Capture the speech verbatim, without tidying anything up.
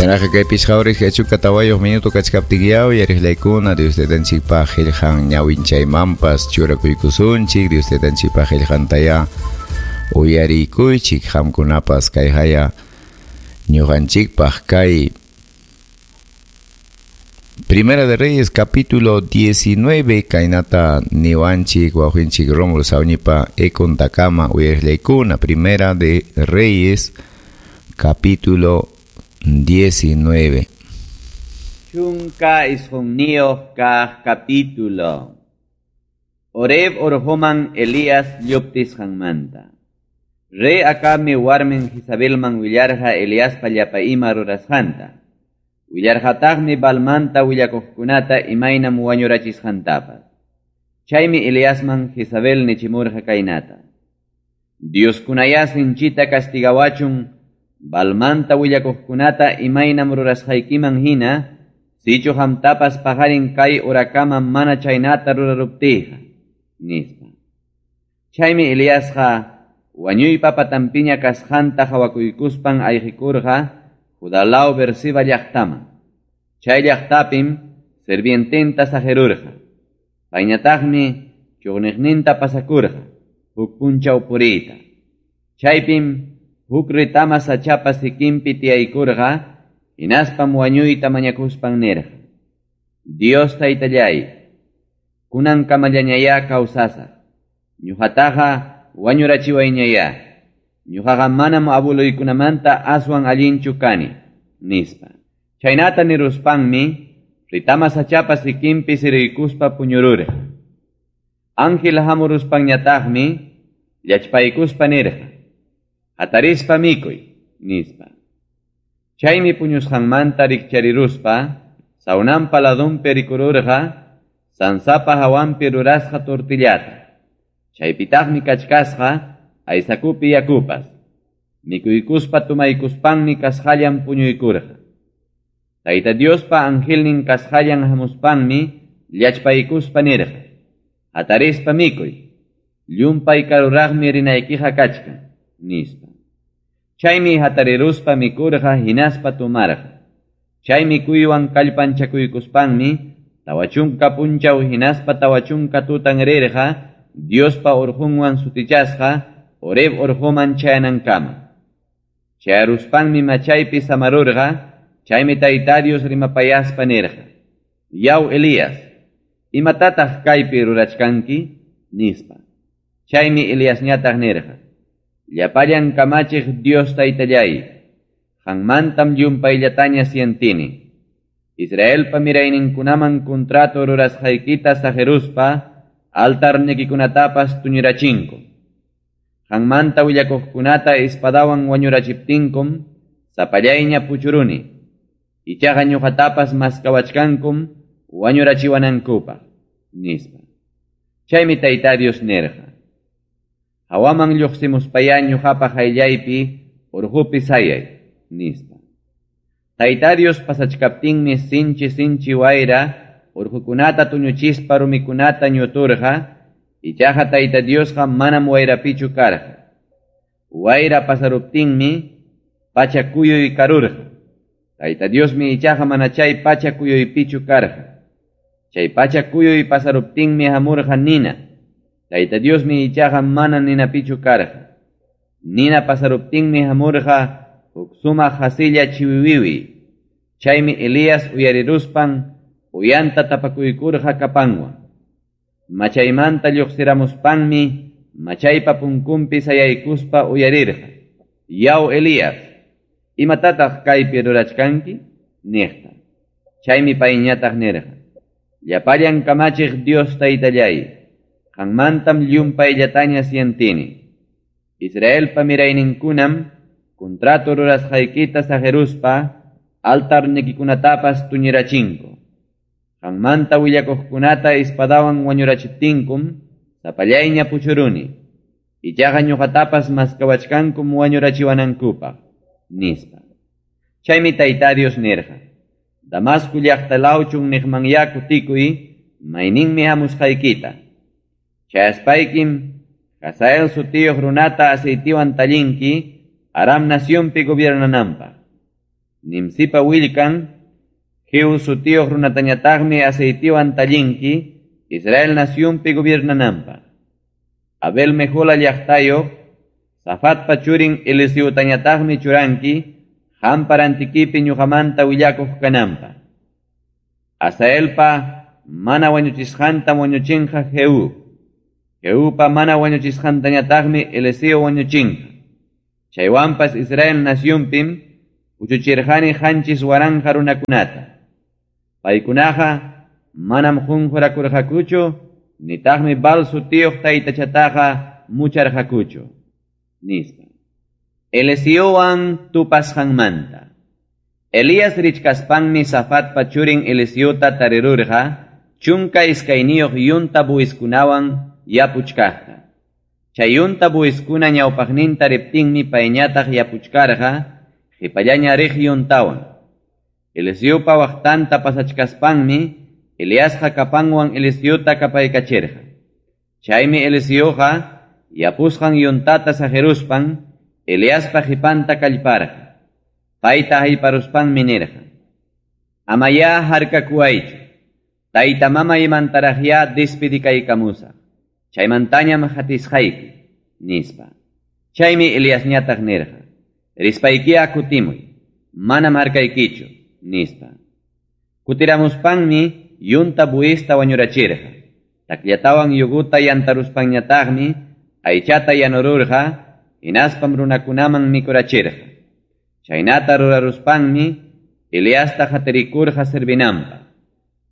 Chaynaqa kay pichqa horas chunka tawayuq minuto kachkaptinyaw yariqlaykuna Dios taytanchikpaq qillqan ñawinchaymanpas churakuykusunchik Dios taytanchikpaq qillqantaya uyarikuychik qamkunapas kay haya ñuqanchikpaq kay Primera de Reyes capítulo diecinueve kaynata niwanchik wawqinchik Rómulo Sawñipa ekontakama uyariqlaykuna. Primera de Reyes capítulo diecinueve. Chunka isqunniyuq kaq capítulo. Oreb orqoman Elías lluptisqanmanta. Rey Acabmi warmin Jezabelman willarqa Eliaspa llapa ima rurasqanta. Willarqataqmi Baalmanta willakuqkunata imaynam wañurachisqantapas. Chaymi Eliasman Jezabel nichimurqa kaynata: Dioskunayá sinchita castigawachun Baalmanta willakuqkunata imaynam rurasqaykiman hina, sichu qamtapas paqarin kay urakama mana chaynata ruraruptiyqa, nispa. Chaymi Eliasqa wañuypa patanpiña kasqanta qhawakuykuspan ayqikurqa Judalaw Beerseba llaqtaman. Chay llaqtapim sirviententa saqirurqa. Payñataqmi chuqniqninta pasakurqa huk punchaw puriyta. Chaypim huk retama sachapa sikinpi tiyaykurqa, hinaspam wañuyta mañakuspan nirqa: Dios taytallay, kunankamallañayá kawsasaq. Ñuqataqa wañurachiwayñayá. Ñuqaqa manam abuluykunamanta aswan allinchu kani, nispa. Chaynata niruspanmi retama sachapa sikinpi siriykuspa puñururqa. Ángel hamuruspanñataqmi llachpaykuspa nirqa: Hatarispa mikuy, nispa. Chaymi puñusqanmanta rikchariruspa sawnanpa ladunpi rikururqa sansapa hawanpi rurasqa tortillata. Chaypitaqmi kachkasqa aysakupi yakupas. Mikuykuspa tumaykuspanmi kasqallan puñuykurqa. Tayta Diospa angelnin kasqallan hamuspanmi llachpaykuspa nirqa: Hatarispa mikuy, llumpay karuraqmi rinaykiqa kachkan, nispa. Chaymi hatariruspa mikurqa hinaspa tumarqa. Chay mikuywan kallpanchakuykuspanmi tawa chunka punchaw hinaspa tawa chunka tutan rirqa Diospa urqunwan sutichasqa Oreb urquman chayanankama. Chayaruspanmi machaypi samarurqa. Chaymi Tayta Dios rimapayaspa nirqa: Yaw Elías, imatataq kaypi rurachkanki, nispa. Chaymi Eliasñataq nirqa: Llapallan kamachiq Dios taytallay, qanmantam llumpayllataña sientini. Israelpa mirayninkunaman contrato rurasqaykita saqiruspa altarnikikunatapas tuñurachinku. Qanmanta willakuqkunata espadawan wañurachiptinkum sapallayña puchuruni. Ichaqa ñuqatapas maskawachkankum wañurachiwanankupaq, nispa. Chaymi Tayta Dios nirqa: Hawaman lluqsimuspayá ñuqapa qayllaypi urqupi sayay, nispa. Tayta Dios pasachkaptinmi sinchi sinchi wayra urqukunata tuñuchispa rumikunata ñuturqa, ichaqa Tayta Diosqa manam wayrapichu karqa. Wayra pasaruptinmi pacha kuyuy karurqa. Tayta Diosmi ichaqa mana chay pacha kuyuypichu karqa. Chay pacha kuyuy pasaruptinmi hamurqa nina. Tayta Diosmi ichaqa mana ninapichu karqa. Nina pasaruptinmi hamurqa huk sumaq hasilla chiwiwiwi. Chaymi Elías uyariruspan uyanta tapakuykurqa kapanwan. Machaymanta lluqsiramuspanmi machaypa punkunpi sayaykuspa uyarirqa: Yaw Elías, imatataq kaypi rurachkanki, niqta. Chaymi payñataq nirqa: Llapallan kamachiq Dios taytallay, qanmantam llumpayllataña sientini. Israelpa mirayninkunam contrato rurasqaykita saqiruspa altarnikikunatapas tuñirachinku. Qanmanta willakuqkunata espadawan wañurachiptinkum sapallayña puchuruni. Ichaqa ñuqatapas maskawachkankum wañurachiwanankupaq, nispa. Chaymi Tayta Dios nirqa: Damasco llaqta lawchun niqmanyá kutikuy, mayninmi hamusqaykita. Chayaspaykim Hazael sutiyuq runata aceitiwan tallinki Aram nacionpi gobiernananpaq. Nimsipa willkan Jehu sutiyuq runatañataqmi aceitiwan tallinki Israel nacionpi gobiernananpaq. Abel Mehola llaqtayuq Safatpa churin Eliseotañataqmi churanki qampa rantikipi ñuqamanta willakuq kananpaq. Asaelpa mana wañuchisqantam wañuchinqa Jehu. Jehupa mana wañuchisqantañataqmi Eliseo wañuchinqa. Chaywanpas Israel nacionpim puchuchirqani qanchis waranqa runakunata. Paykunaqa manam qunqurakurqakuchu, nitaqmi Baal sutiyuq taytachataqa mucharqakuchu, nispa. Eliseowan tupasqanmanta. Elías richkaspanmi Safatpa churin Eliseota tarirurqa chunka iskayniyuq yunta buwiskunawan yapuchkaqta. Chay yunta buwiskuna ñawpaqninta riptinmi payñataq yapuchkarqa qipallaña riq yuntawan. Eliseopa waqtanta pasachkaspanmi Eliasqa kapanwan Eliseota kapaykachirqa. Chaymi Eliseoqa yapusqan yuntata saqiruspan Eliaspa qipanta kallparqa. Payta hayparuspanmi nirqa: Amayá harkakuwaychu, tayta mamaymantaraqyá despedikaykamusaq, chaymantañam hatisqayki, nispa. Chaymi Eliasñataq nirqa: Rispaykiya kutimuy, manam harkaykichu, nispa. Kutiramuspanmi yunta buista wañurachirqa. Takllatawan yuguta yantaruspanñataqmi aychata yanururqa, hinaspam runakunaman mikurachirqa. Chaynata ruraruspanmi Eliasta hatirikurqa servinanpaq.